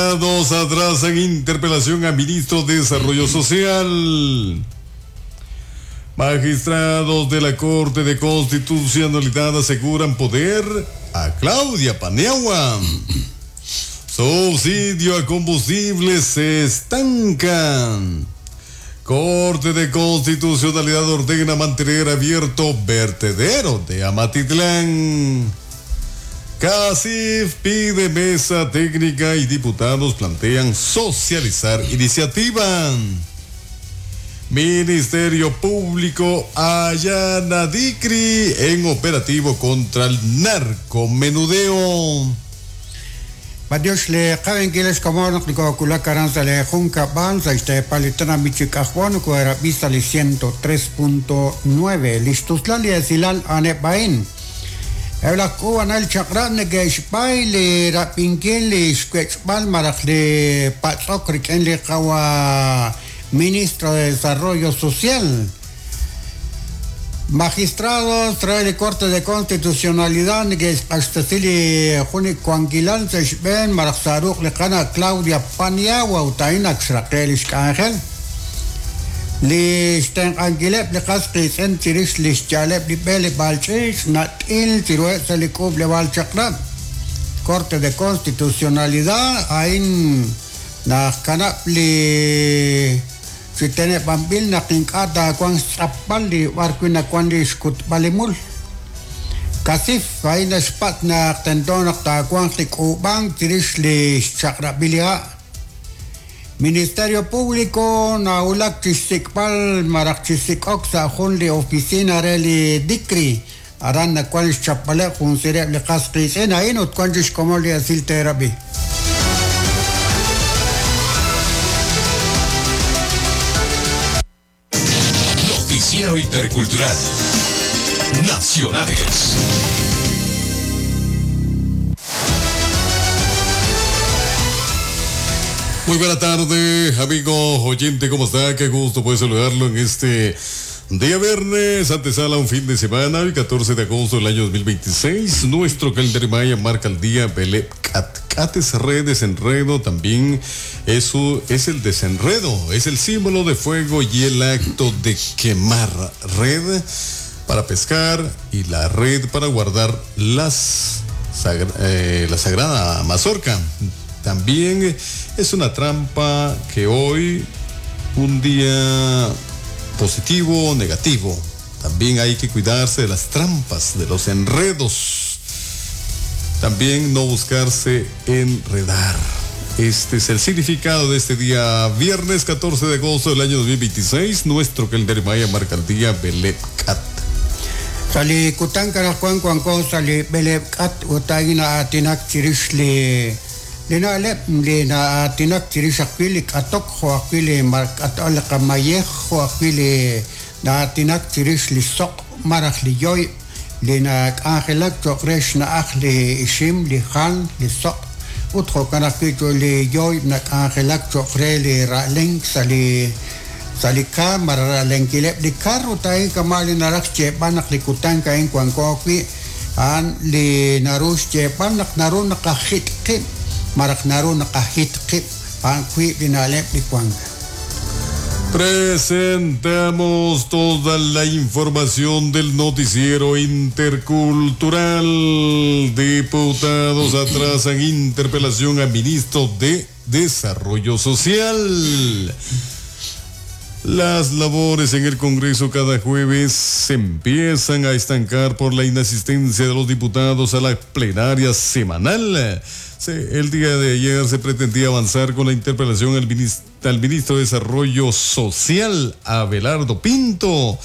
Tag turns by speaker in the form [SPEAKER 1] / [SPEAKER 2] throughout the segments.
[SPEAKER 1] Atrasan interpelación a ministro de Desarrollo Social. Magistrados de la Corte de Constitucionalidad aseguran poder a Claudia Paniagua. Subsidio a combustibles se estancan. Corte de Constitucionalidad ordena mantener abierto vertedero de Amatitlán. CACIF pide mesa técnica y diputados plantean socializar iniciativa. Ministerio Público allana DICRI en operativo contra el narcomenudeo.
[SPEAKER 2] Badios le qaben kiles como no kula karanza le junca banza este palitana michikajwan ko era vista le 103.9 listuslali esilal ane bain. Ebla kuwan el chakran ne xpay le rapinkin le xkwechbal maraj le patzok riken le qawa ministro de Desarrollo Social. Magistrados trae la Corte de Constitucionalidad que es juni Kuanquilan se maraj le qana Claudia Paniagua utaina xraqel xk'anjel. Li xtenq'ankileb' li qas qiitz'in chirix li xyaleb' li b'e li b'alch'ix nat'il chiruheb' sa li k'uub' li b'alchaqrab'. Corte de Constitucionalidad ain naj kanab' li chiteneb' b'anb'il naq ink'a' taawanq xtz'apb'al li b'ar wi' nawan li xkutb'al li mul. CACIF ain naxpat naq tento naq taawanq li k'uub'ank chirix li xchaq'rab'il li ha'. Ministerio Público naulak chisikb'al maraj chisik'ok sa jun li oficina re li DICRI aran nawan xchapb'aleb' jun sireb' li qas qiitz'in ain ut wan chixkomon li esil teerab'i.
[SPEAKER 3] Noticiero Intercultural. Nacionales.
[SPEAKER 1] Muy buena tarde, amigo oyente, ¿cómo está? Qué gusto poder saludarlo en este día viernes, antesala un fin de semana, el 14 de agosto del año 2026. Nuestro calendario maya marca el día Belep Cat. Cat es red, desenredo, también eso es el desenredo, es el símbolo de fuego y el acto de quemar red para pescar y la red para guardar la sagrada mazorca. También es una trampa que hoy, un día positivo o negativo, también hay que cuidarse de las trampas, de los enredos. También no buscarse enredar. Este es el significado de este día viernes 14 de agosto del año 2026. Nuestro calendario maya marca el día Belep Cat.
[SPEAKER 2] Sali kutan karakuan kuanko sali Belep Cat utagina atinak chirix li na'leb' li na'aatinak chirix ajwi' li k'atok jo' ajwi' li mark'at'al li qamayej jo' ajwi' li na'aatinak chirix li soq' maraj li yoy li nak'anjelak cho'q re xna'aj li ixim li jal li soq' ut jo'kan ajwi' cho li yoy nak'anjelak cho'q re li ra'lenk sa li ka maraj ra'lenkileb' li kar ut a'in kama' li naraj xyeeb'al naq li kutan a'in wanko ajwi' a'an li naru xyeeb'al naq naru naqajit' qib' maraj naru naqajit qib' a'an wiib' li na'leb' li wank.
[SPEAKER 1] Presentamos toda la información del noticiero intercultural. Diputados atrasan interpelación al ministro de Desarrollo Social. Las labores en el Congreso cada jueves se empiezan a estancar por la inasistencia de los diputados a la plenaria semanal. El día de ayer se pretendía avanzar con la interpelación al ministro de Desarrollo Social, Abelardo Pinto.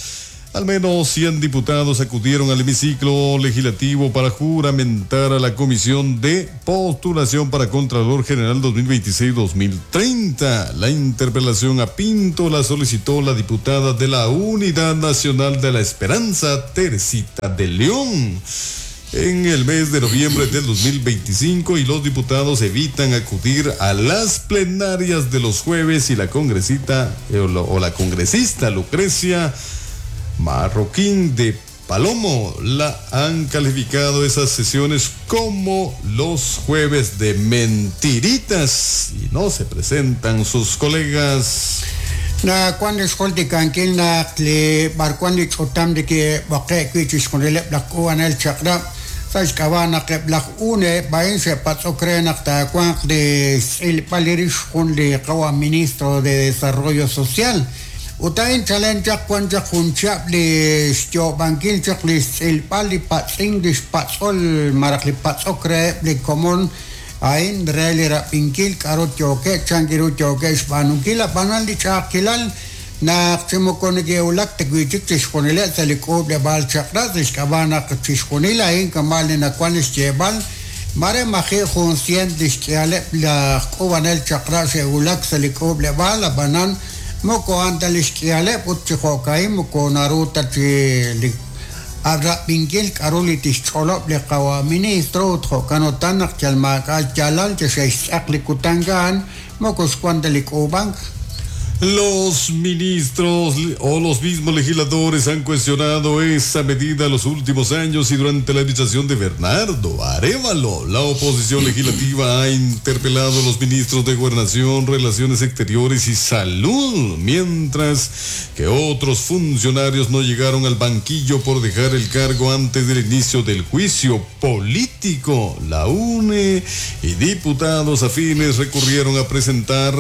[SPEAKER 1] Al menos 100 diputados acudieron al hemiciclo legislativo para juramentar a la Comisión de Postulación para Contralor General 2026-2030. La interpelación a Pinto la solicitó la diputada de la Unidad Nacional de la Esperanza, Teresita de León. En el mes de noviembre del 2025 y los diputados evitan acudir a las plenarias de los jueves y la congresista o la congresista Lucrecia Marroquín de Palomo. La han calificado esas sesiones como los jueves de mentiritas y no se presentan sus colegas.
[SPEAKER 2] Nawan li xjultikankil naq li b'arwan li ch'utam li ke'b'oqe'k wi' chixjunileb' laj k'uub'anel chaq'rab' sa' xk'ab'a' naq eb' laj UNE b'a'in xe'patz'ok re naq taawanq li xtz'ilb'al li rix jun li qawa' ministro de Desarrollo Social. Ut a'in chalen chaq wan chaq jun chihab' li xyoob'ankil chaq li xtz'ilb'al li patz'ink li xpatz'ol malaj li patz'ok reheb' li komon a'in re li rab'inkil k'a'ru yookeb' chan ru yookeb' xb'aanunkil. Ab'anan li ch'a'ajkilal naq chi moko neke'wulak ta wi'chik chixjunileb' sa' li k'uub'leb'aal chaq'rab' sa' xk'ab'a' naq chixjunil a'in kama' li nawan li xyeeb'al mare maji' jun cien li xk'ihaleb' laj k'uub'anel chaq'rab' xe'wulak sa' li k'uub'leb'aal. Ab'anan moko a'an ta li xk'ihaleb' ut chi jo'ka'in moko naru ta chi li rab'inkil k'a'ru li tixch'olob' li qawa' ministro ut jo'kan utan naq yal maak'a' xyaalal chi xe'xtz'aq li kutan a'an moko xwan ta li k'uub'ank.
[SPEAKER 1] Los ministros o los mismos legisladores han cuestionado esa medida los últimos años y durante la administración de Bernardo Arévalo. La oposición legislativa ha interpelado a los ministros de Gobernación, Relaciones Exteriores y Salud, mientras que otros funcionarios no llegaron al banquillo por dejar el cargo antes del inicio del juicio político. La UNE y diputados afines recurrieron a presentar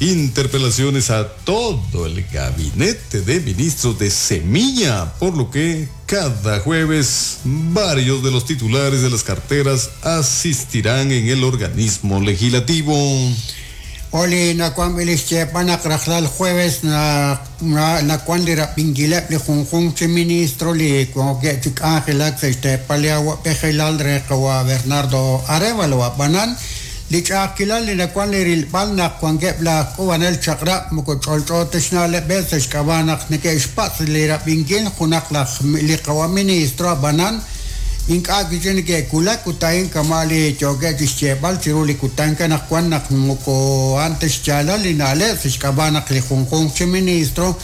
[SPEAKER 1] interpelaciones a todo el gabinete de ministros de Semilla, por lo que cada jueves varios de los titulares de las carteras asistirán en el organismo legislativo.
[SPEAKER 2] Oli nawan li xyeeb'al naq rajlal jueves nawan li rab'inkileb' li junjunq chi ministro li wankeb' chi k'anjelak sa' xteepal li awa'b'ejilal re qawa' Bernardo Arévalo. Ab'anan li ch'a'ajkilal li nawan li rilb'al naq wankeb' laj k'uub'anel chaq'rab' moko ch'olch'o ta xna'leb'eb' sa' xk'ab'a' naq neke'xpatz' li rab'inkil junaq laj li qawa' ministro. Ab'anan ink'a' kichi neke'wulak ut a'in kama' li yookeb' chi xyeeb'al chiru li kutan anaqwan naq moko a'an ta xyaalal li na'leb' sa' xk'ab'a' naq li junjunq chi ministro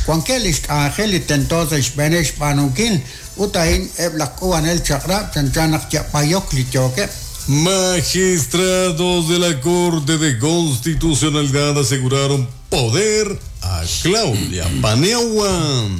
[SPEAKER 2] wankeb' li xk'anjel li tento sa' xb'eeneb' xb'aanunkil ut a'in eb' laj k'uub'anel chaq'rab' chanchan naq yab'ayok li yookeb'.
[SPEAKER 1] Magistrados de la Corte de Constitucionalidad aseguraron poder a Claudia Paniagua.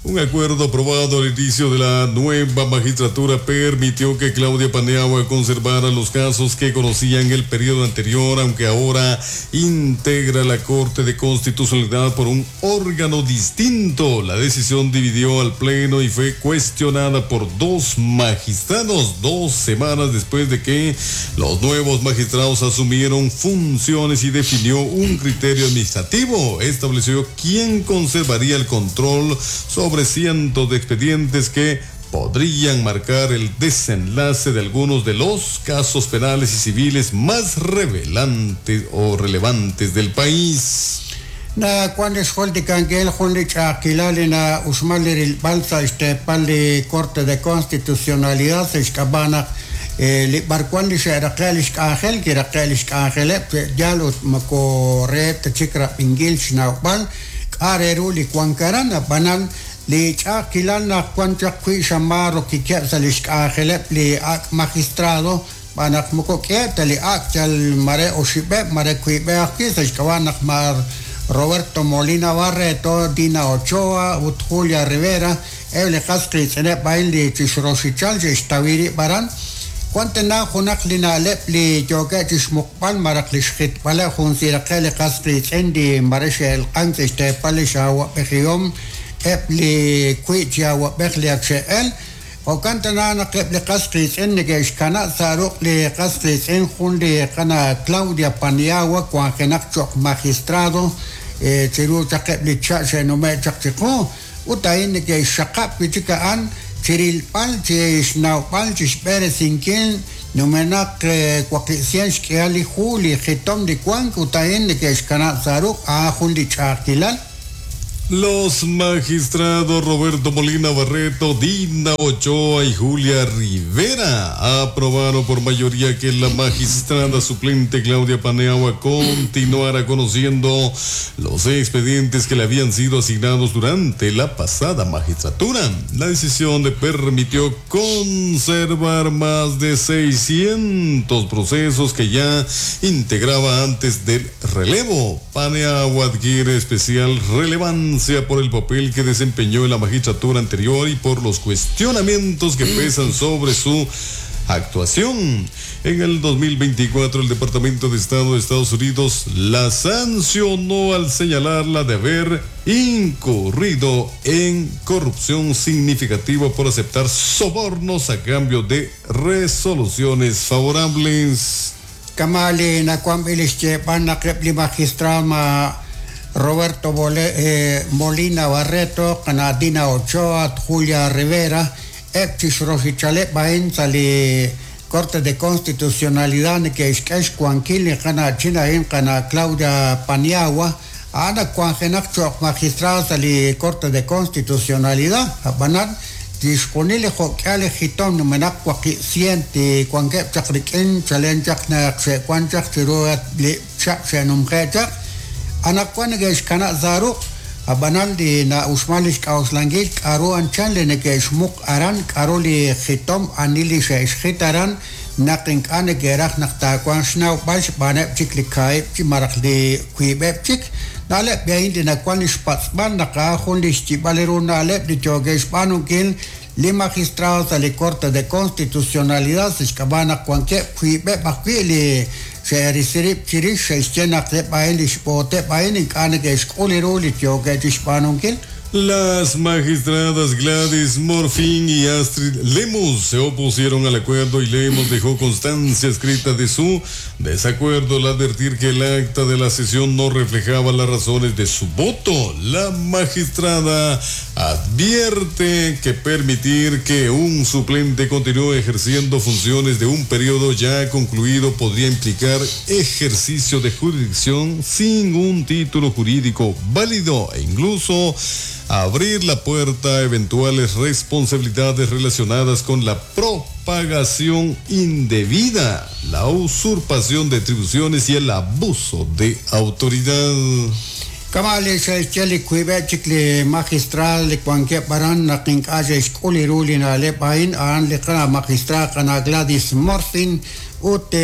[SPEAKER 1] Un acuerdo aprobado al inicio de la nueva magistratura permitió que Claudia Paniagua conservara los casos que conocían el periodo anterior, aunque ahora integra la Corte de Constitucionalidad por un órgano distinto. La decisión dividió al Pleno y fue cuestionada por dos magistrados 2 semanas después de que los nuevos magistrados asumieron funciones y definió un criterio administrativo. Estableció quién conservaría el control sobre cientos de expedientes que podrían marcar el desenlace de algunos de los casos penales y civiles más revelantes o relevantes del país.
[SPEAKER 2] Na cuando xjultikankel jun li ch'a'ajkilal li na uxmal li rilb'al sa' xteepal li Corte de Constitucionalidad sa' xk'ab'a' naq li b'arwan li xe'raqe' li xk'anjel kiraqe' li xk'anjeleb' yal ut moko re ta chik rab'inkil xnawb'al k'a' re ru li wankaran. Ab'anan li ch'a'ajkilal naq wan chaq wi' xama rokikeb' sa' li xk'anjeleb' li ak' magistrado b'anaq moko k'e ta li ak' yal mare oxib'eb' mare kuib'eb' ajwi' sa' xk'ab'a' naq mar Roberto Molina Barreto, Dina Ochoa ut Julia Rivera eb' li qas qiitz'ineb' a'in li chixroxichal xe'xtawiri b'aran wan tana junaq li na'leb' li yookeb' chixmuqb'al malaj li xjitb'aleb' jun siraqe' li qas qiitz'in li mare xe'elq'an sa' xteepal li xawab'ejihom eb' li wi' chi awab'ej li ak xe'el. Jo'kan tana naq eb' li qas qiitz'in neke'xkana' sa' ruq' li qas qiitz'in jun li qana Claudia Paniagua wanjenaq cho'q magistrado chiru chaq eb' li cha' xe'nume' chaq chiqu ut a'in neke'xxaqab' wi' chik a'an chirilb'al chixnawb'al chixb'eresinkil numenaq waqib' xk'ihal li hu li jitom li wank ut a'in neke'xkana' sa' ruq' a'an jun li ch'a'ajkilal.
[SPEAKER 1] Los magistrados Roberto Molina Barreto, Dina Ochoa y Julia Rivera aprobaron por mayoría que la magistrada suplente Claudia Paniagua continuara conociendo los expedientes que le habían sido asignados durante la pasada magistratura. La decisión le permitió conservar más de 600 procesos que ya integraba antes del relevo. Paniagua adquiere especial relevancia por el papel que desempeñó en la magistratura anterior y por los cuestionamientos que pesan sobre su actuación. En el 2024, el Departamento de Estado de Estados Unidos la sancionó al señalarla de haber incurrido en corrupción significativa por aceptar sobornos a cambio de resoluciones favorables.
[SPEAKER 2] Kamali Roberto Molina Barreto, qana Dina Ochoa, Julia Rivera, eb chi xroxichaleb a'in sa' li Corte de Constitucionalidad neke'xk'e xwankil li qana chin a'in qana Claudia Paniagua, a'an ak wanjenaq cho'q magistrado sa' li Corte de Constitucionalidad, ab'anan chixjunil li jo'k'ihal li jitom numenaq 800 li wankeb' chaq rik'in chalen chaq naq xe'wan chaq chiru li chihab' xe'numje' chaq, anaqwan neke'xkanab' sa' ruq', ab'anan li na'uxman li xk'a'uxlankil k'aru anchal li neke'xmuq aran, k'aru li jitom ani li xe'xjit aran, naq ink'a' neke'raj naq taawanq xnawb'al xb'aaneb' chik li kaahib' chi malaj li wiib'eb' chik. Na'leb' a'in li nawan li xpatz'b'al naq a'an jun li xyib'al ru na'leb' li yookeb' xb'aanunkil li magistrado sa' li Corte de Constitucionalidad sa' xk'ab'a' naq wankeb' wiib'eb' ajwi' li xe'risi rib' chirix xe'xye naq eb' a'in li xb'ooteb' a'in ink'a' neke'xk'ul ru li yookeb' chixb'aanunkil.
[SPEAKER 1] Las magistradas Gladys Morfín y Astrid Lemus se opusieron al acuerdo y Lemus dejó constancia escrita de su desacuerdo al advertir que el acta de la sesión no reflejaba las razones de su voto. La magistrada advierte que permitir que un suplente continúe ejerciendo funciones de un periodo ya concluido podría implicar ejercicio de jurisdicción sin un título jurídico válido e incluso abrir la puerta a eventuales responsabilidades relacionadas con la propagación indebida, la usurpación de atribuciones y el abuso de autoridad.
[SPEAKER 2] Kama' li xe'xye li wiib'eb' chik li magistrado li wankeb' aran naq ink'a' xe'xk'ul ru li na'leb' a'in, a'an li qana magistrado qana Gladys Morfin ut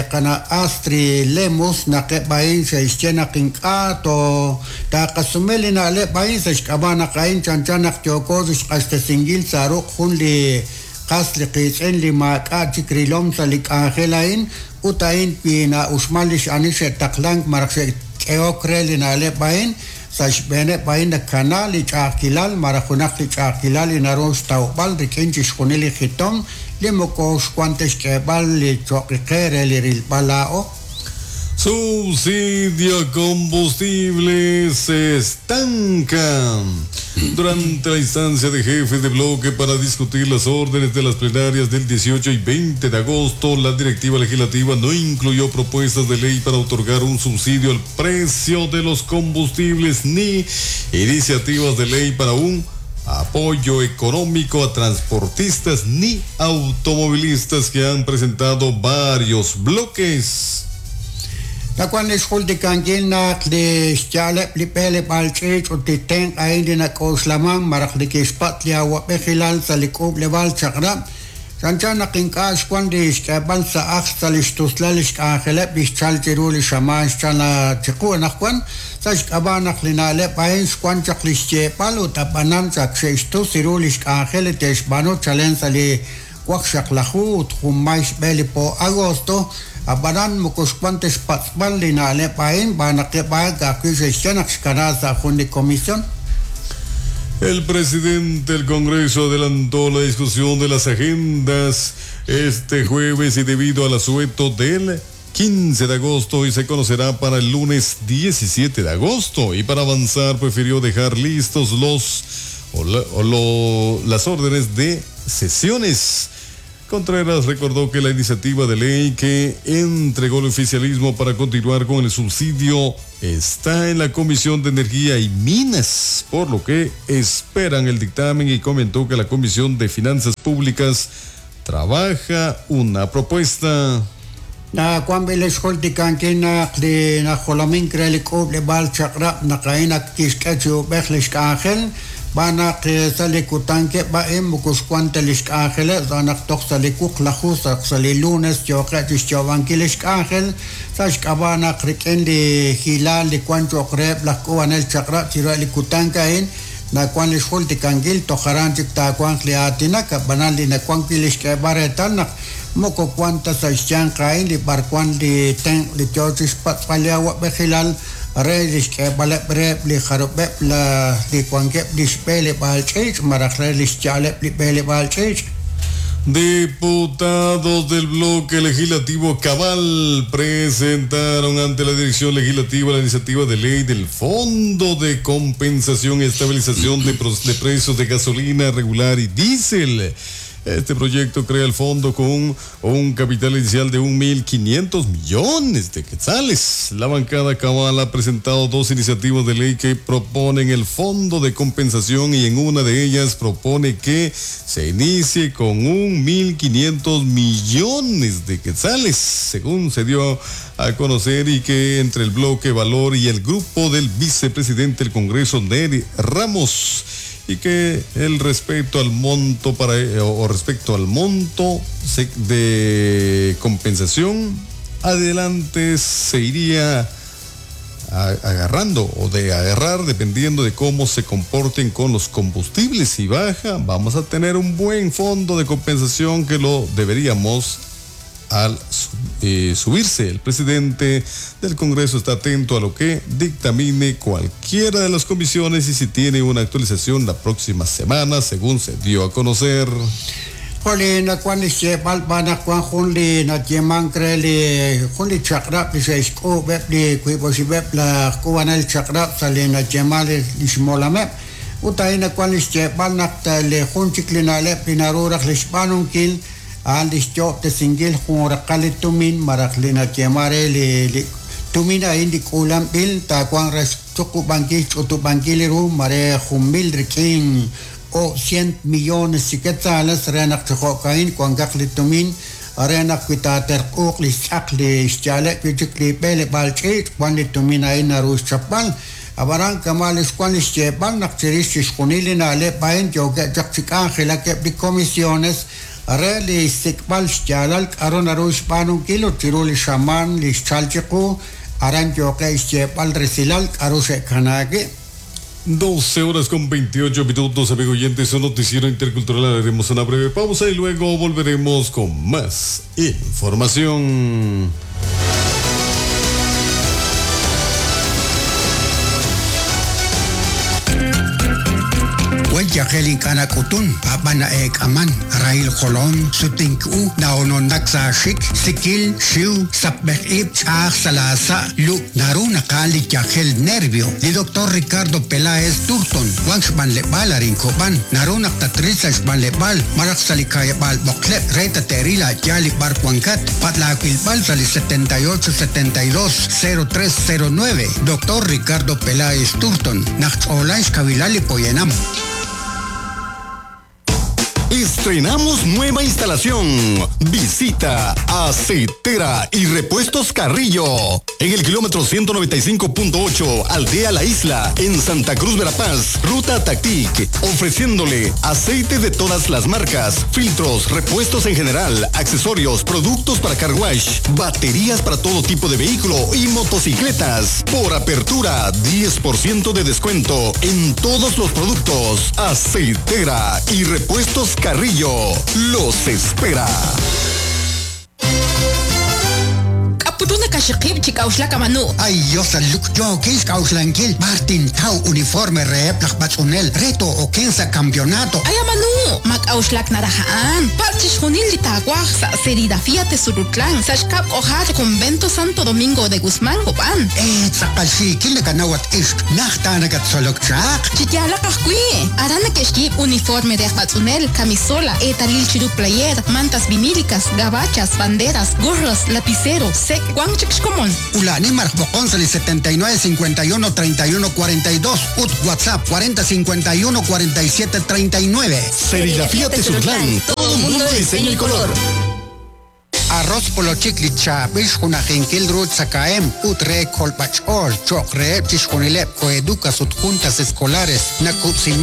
[SPEAKER 2] qana Astrid Lemus naq eb' a'in xe'xye naq ink'a' to taaqasume li na'leb' a'in sa' xk'ab'a' naq a'in chanchan naq yooko xq'axtesinkil sa' ruq' jun li qas li qiitz'in li maak'a' chik rilom sa' li k'anjel a'in ut a'in wi na'uxman li x'ani xe'taqlank malaj xe'k'ehok re li na'leb' a'in sa' xb'eeneb' a'in nakana li ch'a'ajkilal malaj junaq li ch'a'ajkilal li naru xtawb'al rik'in chixjunil li jitom li moko xwan ta xk'eeb'al li cho'qiqe re li rilb'al laa'o.
[SPEAKER 1] Subsidio a combustible se estanca. Durante la instancia de jefes de bloque para discutir las órdenes de las plenarias del 18 y 20 de agosto, la directiva legislativa no incluyó propuestas de ley para otorgar un subsidio al precio de los combustibles ni iniciativas de ley para un apoyo económico a transportistas ni automovilistas que han presentado varios bloques.
[SPEAKER 2] Nawan li xjuldikankil naq li xyaaleb' li b'eleb'aal ch'iich' ut li tenq' a'in li nak'oxlaman malaj li kixpatz' li awab'ejilal sa' li k'uub'leb'aal chaq'rab', chanchan naq ink'a' xwan li xk'eeb'al sa' ajl sa' li xtuslal li xk'anjeleb' li xchal chiru li xamaan xchal chiqu anaqwan, sa' xk'ab'a' naq li na'leb' a'in xwan chaq li xyeeb'al ut ab'anan chaq xe'xtus ru li xk'anjel li te'xb'aanu chalen sa' li waqxaqlaju ut junmay xb'e li po agosto, ab'anan moko xwan ta xpatz'b'al li na'leb' a'in b'aan naq eb' a'an ka'ajwi' xe'xye naq xkana sa' jun li comisión.
[SPEAKER 1] El presidente del Congreso adelantó la discusión de las agendas este jueves y debido al asueto del 15 de agosto y se conocerá para el lunes 17 de agosto. Y para avanzar prefirió dejar listos los o la, o lo, las órdenes de sesiones. Contreras recordó que la iniciativa de ley que entregó el oficialismo para continuar con el subsidio está en la Comisión de Energía y Minas, por lo que esperan el dictamen, y comentó que la Comisión de Finanzas Públicas trabaja una propuesta.
[SPEAKER 2] Na kwan b'ilix jultikankil naq li najolomink re li k'uub'leb'aal chaq'rab' naq a'in ak kixk'e chi ub'ej li xk'anjel b'anaq sa' li kutankeb' a'in moko xwan ta li xk'anjeleb' sa' naq toj sa' li wuqlaju sa' li lunes yooqeb' chixyoob'ankil li xk'anjel sa' xk'ab'a' naq rik'in li hilaal li wan cho'q reheb' laj k'uub'anel chaq'rab' chiru li kutank a'in nawan li xjultikankil toj aran chik taawanq li aatinak ab'anan li nawan wi' li xk'eeb'al reetal naq moko wan ta sa' xyanq a'in li b'arwan li tenq' li yoo chixpatz'b'al li awa'b'ejilal re li xk'eeb'aleb' reheb' li jarub'eb' la li wankeb' li xb'eleb'aal ch'iich' malaj re li xya'aleb' li b'eleb'aal ch'iich'.
[SPEAKER 1] Diputados del bloque legislativo Cabal presentaron ante la Dirección Legislativa la iniciativa de ley del Fondo de Compensación y Estabilización de Precios de Gasolina Regular y Diésel. Este proyecto crea el fondo con un capital inicial de 1.500 millones de quetzales. La bancada Cabal ha presentado dos iniciativas de ley que proponen el fondo de compensación, y en una de ellas propone que se inicie con 1.500 millones de quetzales, según se dio a conocer, y que entre el bloque Valor y el grupo del vicepresidente del Congreso, Nery Ramos, y que el respecto al monto para, o respecto al monto de compensación, adelante se iría agarrando o de agarrar dependiendo de cómo se comporten con los combustibles. Si baja, vamos a tener un buen fondo de compensación que lo deberíamos al subirse. El presidente del Congreso está atento a lo que dictamine cualquiera de las comisiones y si tiene una actualización la próxima semana, según se dio a conocer.
[SPEAKER 2] Joli nakuan li xyeeb'al b'an naq wan jun li nayeemank re li jun li chaq'rab' li xe'xk'uub'eb' li wiib' oxib'eb' laj k'uub'anel chaq'rab' sa' li nayeeman li xmolameb'. Ut a'in nakuan li xyeeb'al naq li jun chik li na'leb' li naru raj li xb'aanunkil a'an li xyo'ob'tesinkil jun raqal li tumin malaj li nayeeman re li tumin a'in li k'uulanb'il taawanq re xtuqub'ankil xch'utub'ankil ru mare jun mil rik'in o 100 millones chi quetzales re naq chi jo'ka'in wankaq li tumin re naq wi taaterq'uuq li xtz'aq li xya'aleb' wi' chik li b'eleb'aal ch'iich' wan li tumin a'in naru xchapb'al. Ab'anan kama' li xwan li xyeeb'al naq chirix chixjunil li na'leb' a'in yookeb' chaq chi k'anjelakeb' li comisiones re li xsik'b'al xyaalal k'aru naru xb'aanunkil ut chiru li xamaan li xchal chiqu aran yooqeb' xyeeb'al resilal k'aru xe'kanaak.
[SPEAKER 1] 12 horas con 28 minutos, amigo oyentes, un noticiero intercultural. Haremos una breve pausa y luego volveremos con más información.
[SPEAKER 2] Yajel ink'ana k'utun, ab'an na'eek'aman, rahil jolom, sutink'u, na'ononnak sa xik, sikil, xiw, sapb'ej ib', ch'aj salasa, lu, naru naqal li yajel nervio. Li doctor Ricardo Peláez Turton, wan xb'anleb'al arin kob'an, naru naq tatril sa xb'anleb'al, maraj sa li kayeb'al b'oqleb', re tateril a'yal li b'ar wankat, patlaawilb'al sa li 78 72 0309. Doctor Ricardo Peláez Turton, naq ch'olan xkawilal li poyanam.
[SPEAKER 1] Estrenamos nueva instalación. Visita Aceitera y Repuestos Carrillo. En el kilómetro 195.8, Aldea La Isla, en Santa Cruz Verapaz, Ruta Tactic, ofreciéndole aceite de todas las marcas, filtros, repuestos en general, accesorios, productos para car wash, baterías para todo tipo de vehículo y motocicletas. Por apertura, 10% de descuento en todos los productos. Aceitera y Repuestos Carrillo los espera.
[SPEAKER 4] K'utu nakaxiqib' chi k'a'uxlak amanu.
[SPEAKER 2] Ay, Dios, luk yookin xk'a'uxlankil b'ar tintaw uniforme reheb' laj b'atz'unel re too'oken sa' campeonato.
[SPEAKER 4] Ay amanu, ma k'a'uxlak naraj a'an. Patz' chixjunil li taawaj sa' Serigrafía Tezurutlán, sa' xkab' k'ojar Convento Santo Domingo de Guzmán, Copán.
[SPEAKER 2] Tz'aqal xiikil nakanawat ixq, najt nakattzolok chaq.
[SPEAKER 4] Chi yaalaq ajwi'. Aran neke'xyiib' uniforme re aj b'atz'unel, camisola, eetalil chiru player, mantas vinílicas, gabachas, banderas, gorros, lapicero, sek, wank chik xkomon.
[SPEAKER 2] Ulani maraj b'oqon sa' li 79 51 31 42 ut WhatsApp 40 51 47 39.
[SPEAKER 3] Serigrafía Tezurutlán. Todo un mundo de diseño y color.
[SPEAKER 2] Arroz polochik li chaab'il xjunajinkil ru tzakahem ut re kolb'ach'ool cho'q reheb' chixjunileb' coeducas ut juntas escolares nakub'siman.